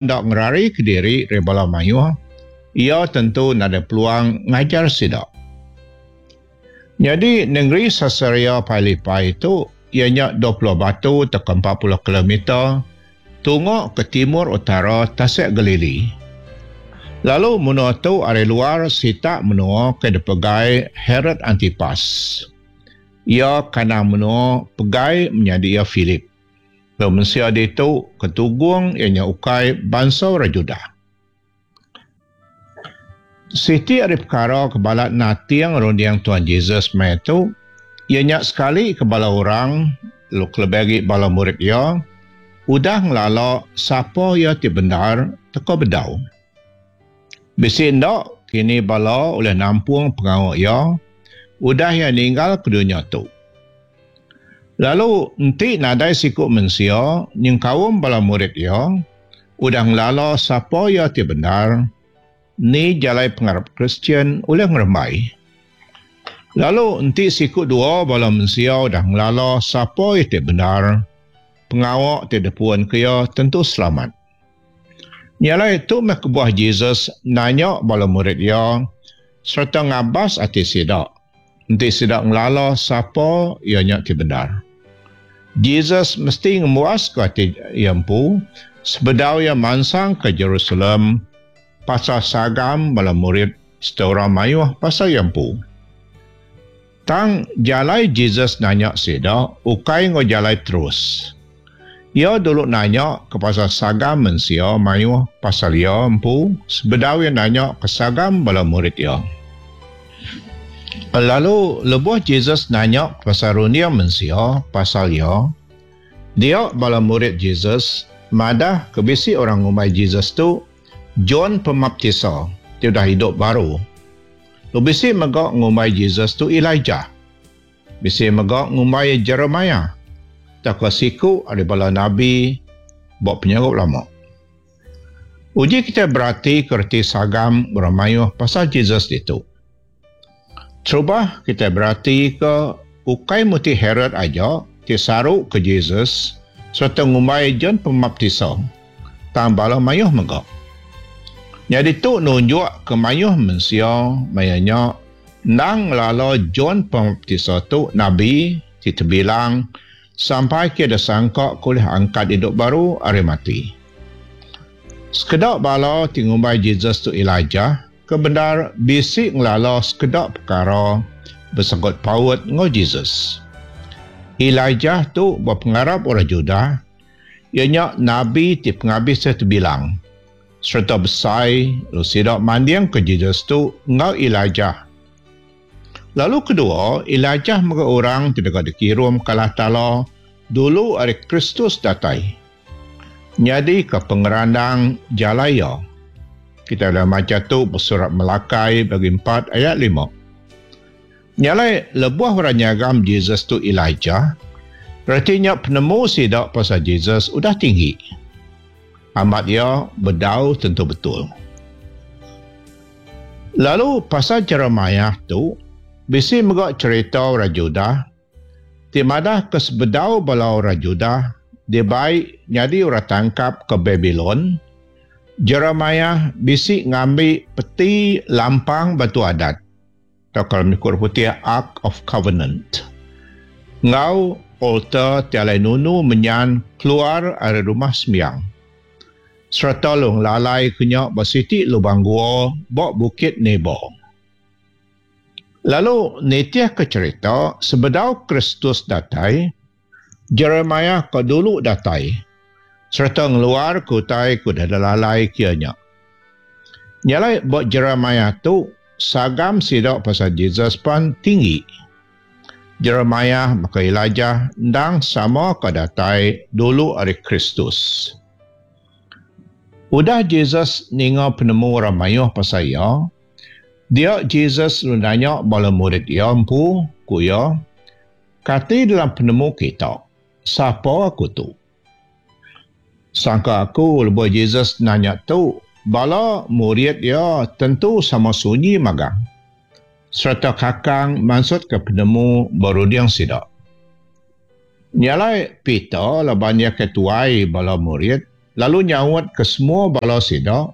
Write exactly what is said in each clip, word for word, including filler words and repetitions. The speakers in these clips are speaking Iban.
enda ngerarika diri ari bala mayuh, iya tentu nadai peluang ngajar sida. Nyadi nengeri Caesarea Philippi tu iya nya dua puluh batu tauka empat puluh kilometer tunga ke timur utara Tasik Galili. Lalu menua tu ari luar sitak menua ke dipegai Herod Antipas. Iya kandang menua pegai menyadi iya Philip. Lalu mensia ditu ke tugung iya nya ukai bansa orang Judah. Siti ari pekara ke balat nating runding Tuhan Jesus maya tu iya nya sekali ke bala orang lalu kelebih agi bala murid iya udah ngelala sapa iya ti bendar teka bedau. Bisi enda kini bala ulih nampung pengawa iya udah iya ninggal ke dunya tu. Lalu enti nadai siku mensia nyengkaum bala murid iya udah ngelala sapa iya ti bendar, ni jalai pengarap Kristian ulih ngerembai. Lalu enti siku dua bala mensia udah ngelala sapa iya ti bendar, pengawa ti depuan ke iya tentu selamat. Nya alai tu meh kebuah Jesus nanya bala murid iya sereta ngabas ati sida enti sida ngelala sapa iya nya ti bendar. Jesus mesti ngemuaska ati iya empu sebedau iya mansang ke Jerusalem pasal sagam bala murid sereta orang mayuh pasal iya empu. Tang jalai Jesus nanya sida ukai enggau jalai terus. Iya dulu nanya ke pasal sagam mensia mayuh pasal iya empu sebedau iya nanya ke sagam bala murid iya. Lalu lebuh Jesus nanya ke pasal runding mensia pasal iya, dia bala murid Jesus madah ke bisi orang ngumbai Jesus tu John Pemaptisa ti udah hidup baru. Lalu bisi mega ngumbai Jesus tu Elijah. Bisi mega ngumbai Jeremiah tauka siku ari bala nabi ba penyaup lama. Uji kita berati ke reti sagam orang mayuh pasal Jesus ditu. Terubah kita berati ke ukai muti Herod aja ti saru ke Jesus sereta ngumbai John Pemaptisa, tang bala mayuh mega. Jadi tu nunjuk ke mayuh mensia maya nya endang ngelala John Pemaptisa tu nabi ti terbilang sampai ke disangka kulih angkat hidup baru ari mati. Sekeda bala ti ngumbai Jesus tu Elijah ke bendar bisi ngelala sekeda perkara bersangkut paut enggau Jesus. Elijah tu berpengarap orang Judah, iya nya nabi ti pengabis terbilang sereta besai lalu sida manding ke Jesus tu enggau Elijah. Lalu kedua, Elijah mega orang ti deka dikirum ke Allah Taala dulu ari Kristus datai. Nyadi ke pengerandang jalai iya. Kita dah baca tu bersurat Malakai bagi empat ayat lima. Nyalai lebuh orang nyagam Jesus tu Elijah, retinya penemu sida pasal Jesus udah tinggi. Amat iya bedau tentu betul. Lalu pasal Jeremiah tu, bisi mega cerita orang Judah ti madah ke sebedau bala orang Judah dibai nyadi orang tangkap ke Babylon, Jeremiah bisi ngambi peti lampang batu adat atau kalau mengikut putih Ark of Covenant ngau altar ti alai nunu menyan keluar ari rumah sembiang sereta long lalai kenya ba siti lubang gua ba Bukit Nebo. Lalu nitih ke cerita sebedau Kristus datai, Jeremiah ke dulu datai sereta ngeluar ke utai ke udah lalai kianya. Nyalai ba Jeremiah tu sagam sida pasal Jesus pan tinggi. Jeremiah maka Elijah endang sama ke datai dulu ari Kristus. Udah Jesus ninga penemu orang mayuh pasal iya, dia Jesus nanya bala murid iya empu, ku iya, kati dalam penemu kita, sapa aku tu? Sangka aku lebuh Jesus nanya tu, bala murid iya tentu sama sunyi magang. Sereta kakang maksud ke penemu berunding sida. Nyalai Peter laban iya ketuai bala murid, lalu nyaut ke semua bala sida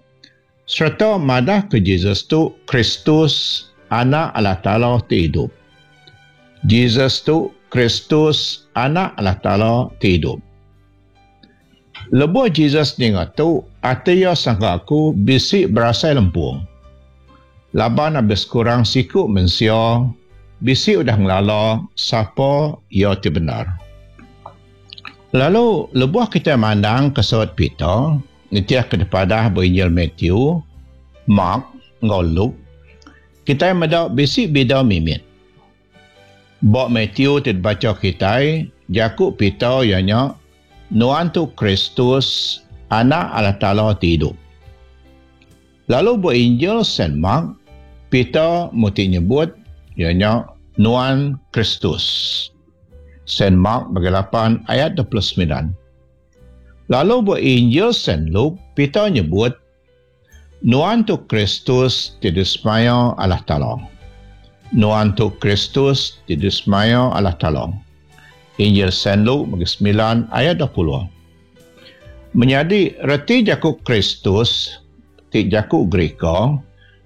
sereta madah ke Jesus tu Kristus Anak Allah Taala ti idup. Jesus tu Kristus Anak Allah Taala ti idup. Lebuh Jesus ninga tu, ati iya sangka aku bisi berasai lempung. Laban abis kurang siku mensia bisi udah ngelala sapa iya ti bendar. Lalu lebuh kita mandang ke saut Peter, nitiah ke depadah berinjil Matthew, Mark, enggau Luke, kita meda bisi bida mimit. Bak Matthew ti dibaca kita, jaku Peter ianya Nuan tu Kristus, Anak Allah Taala ti idup. Lalu ba Injil Saint Mark, Peter muti nyebut ianya Nuan Kristus. Saint Mark bagi lapan ayat dua puluh sembilan. Lalu ba Injil Saint Luke, Peter nyebut Nuan tu Kristus ti disemaya Allah Taala. Nuan tu Kristus ti disemaya Allah Taala. Injil Saint Luke bagi sembilan ayat dua puluh. Menyadi reti jaku Kristus ti jaku Greka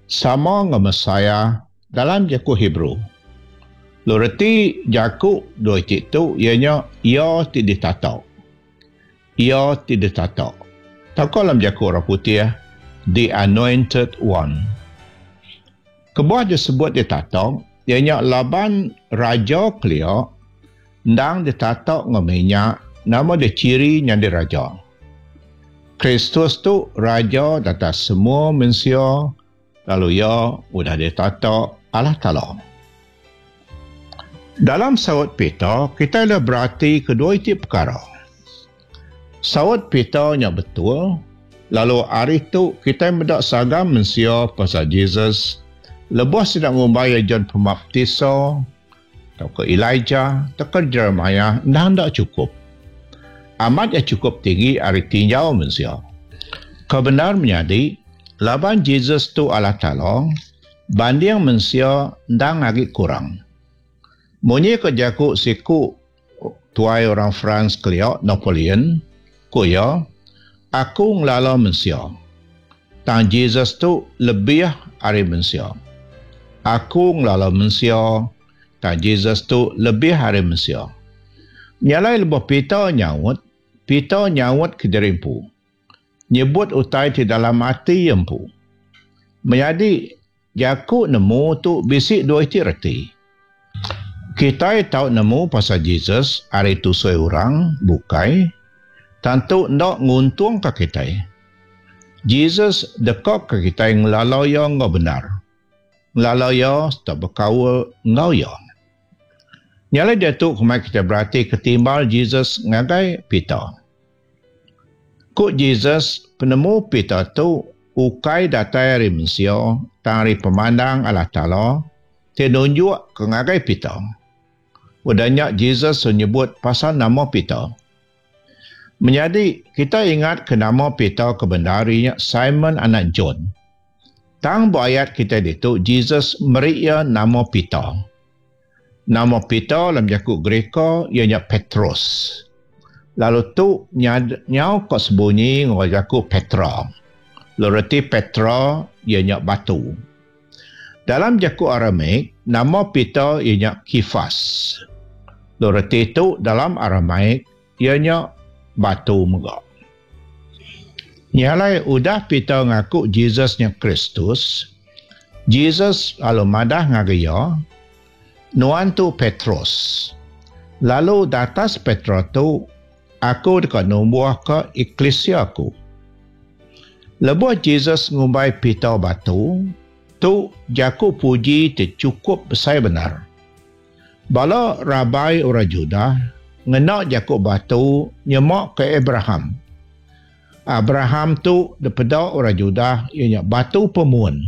sama dengan Messiah dalam jaku Hebrew. Lalu reti jaku dua iti tu ianya ia ti ditata. Ia ti ditata. Tauka dalam jaku orang putih, the anointed one. Kebuah disebut ditata ianya laban raja kelia ndang ditata dengan minyak nama dia ciri nyadi raja. Kristus tu raja atas semua manusia, lalu ia udah ditata Allah Taala. Dalam saut Peter, kita dah berarti kedua iti perkara. Saut Peter nya betul, lalu hari tu kita mendak sagam manusia pasal Jesus, lebuh sedang ngumbai John Pembaptisa, atau ke Elijah, atau ke Jeremiah, dah ndak cukup. Amat ya cukup tinggi hari tinjau manusia. Kebenar menjadi, laban Jesus tu Allah Taala, banding manusia ndang lagi kurang. Munyi ke jaku siku tuai orang France kelia Napoleon, ku iya, aku ngelala manusia. Tang Jesus tu lebih ari manusia. Aku ngelala manusia, tang Jesus tu lebih ari manusia. Nyalai lebuh Peter nyaut, Peter nyaut ke diri empu. Nyebut utai ti dalam ati empu. Menyadi jaku nemu tu bisi dua iti reti. Kita tahu nemu pasal Jesus hari tu seorang bukai, tentu ndak nguntung ke kita. Jesus dekat ke kita ngelala ia enggau benar. Ngelala ia serta berkaul enggau ia. Nyala dia tu kemai kita berarti ketimbal Jesus ngagai Peter. Ku Jesus penemu Peter tu ukai datai dari manusia tang ari pemandang Allah Taala ti nunjuk ke ngagai Peter. Udahnya Jesus menyebut pasal nama Peter. Menjadi kita ingat ke nama Peter kebenarinya Simon anak John. Tang ayat kita itu Jesus meri ia nama Peter. Nama Peter dalam jaku Greka ianya Petros. Lalu tu nyau kok sebunyi ngau jaku Petra. Lalu reti Petra ianya batu. Dalam jaku Aramaik nama Peter ianya Kifas. Lalu reti tu dalam Aramaik ianya batu mega. Nyalai udah Peter ngaku Jesusnya Kristus, Jesus lalu madah ngagai ia, Nuan tu Petrus. Lalu datas Petra tu aku dekat numbuh ke eklesia aku. Lebuh Jesus ngumbai Peter batu, tu jaku puji ti cukup besar benar. Bala rabai orang Judah ngena jaku batu nyemak ke Abraham. Abraham tu daripada orang Judah ianya batu pemun.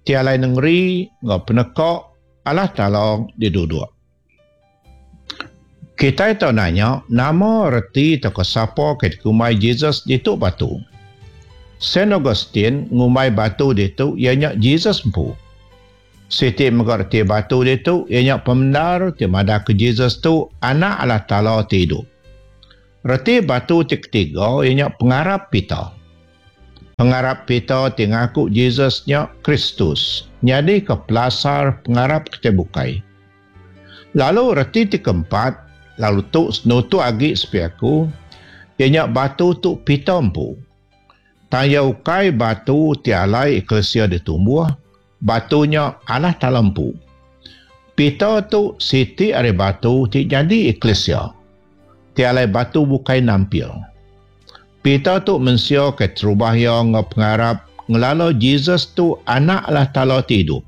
Tialai nengeri ngau penekak Allah Taala diduduk. Kita tahu nanya nama reti atau sapa ke dikumbai Jesus ditu batu. Saint Augustine ngumbai batu ditu ianya Jesus empu. Siti mengerti batu ditu ianya pembenar ti madah ke Jesus tu anak Allah Taala ti hidup. Reti batu ti ketiga iya nya pengarap Peter. Pengarap Peter ti ngaku Jesus nya Kristus nyadi ke pelasar pengarap kita bukai. Lalu reti ti keempat, lalu tu senutu agi sepi aku, iya nya batu tu Peter empu. Tang iya ukai batu ti alai eklesia ditumbuh, batu nya Allah Taala empu. Peter tu siti ari batu ti jadi eklesia. Ti alai batu bukai nampil. Peter tu mensia ke terubah iya enggau pengarap ngelala Jesus tu anak Allah Taala ti idup.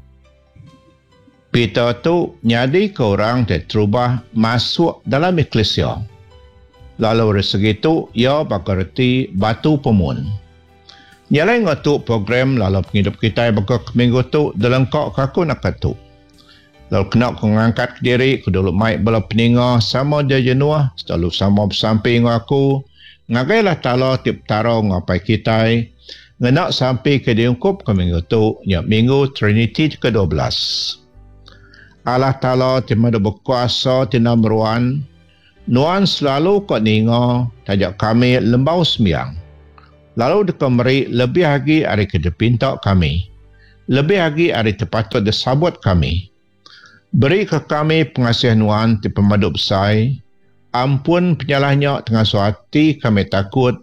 Peter tu nyadi ke orang ti terubah masuk dalam eklesia. Lalu dari segi tu ia baka reti batu pemun. Nyalai ngau tu program lalu penghidup kita baka ke minggu tu delengkak ke aku nak tu. Lalu kena ku ngangkat ke diri ku dulu mai bala peninga sama dia jenuh selalu sama bersampi ngau aku ngagai Allah Taala ti Petara ngapai kitai ngena sampi ke diungkup ke minggu tu nya minggu Trinity ke dua belas. Allah Taala ti madu berkuasa ti meruan nuan selalu kau ninga tajak kami lembau sembiang. Lalu deka meri lebih agi ari ke dipinta kami. Lebih agi ari tepatut disabut kami. Beri ke kami pengasih nuan ti pemadu besai. Ampun penyalahnya tengah suati kami takut.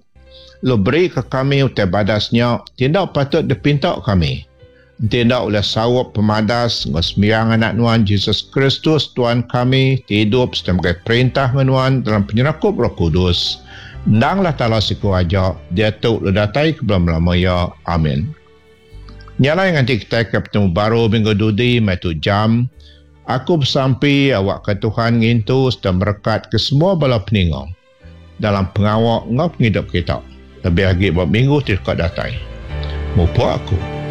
Lalu beri ke kami utai badasnya tidak patut dipinta kami. Tidak oleh sawap pemadas ngau sembiang anak nuan Jesus Kristus Tuhan kami ti hidup sebagai perintah nuan dalam penyerakup Roh Kudus. Endanglah Taala siku aja dia tu le datai ke belum lama ya. Amin. Nyalai nganti kita ke bertemu baru minggu dudi mai tu jam. Aku bersampi awak ke Tuhan ngintu serta merekat ke semua bala peninga dalam pengawak ngau penghidup kita. Lebih lagi buat minggu ti dekat datai. Mupa aku.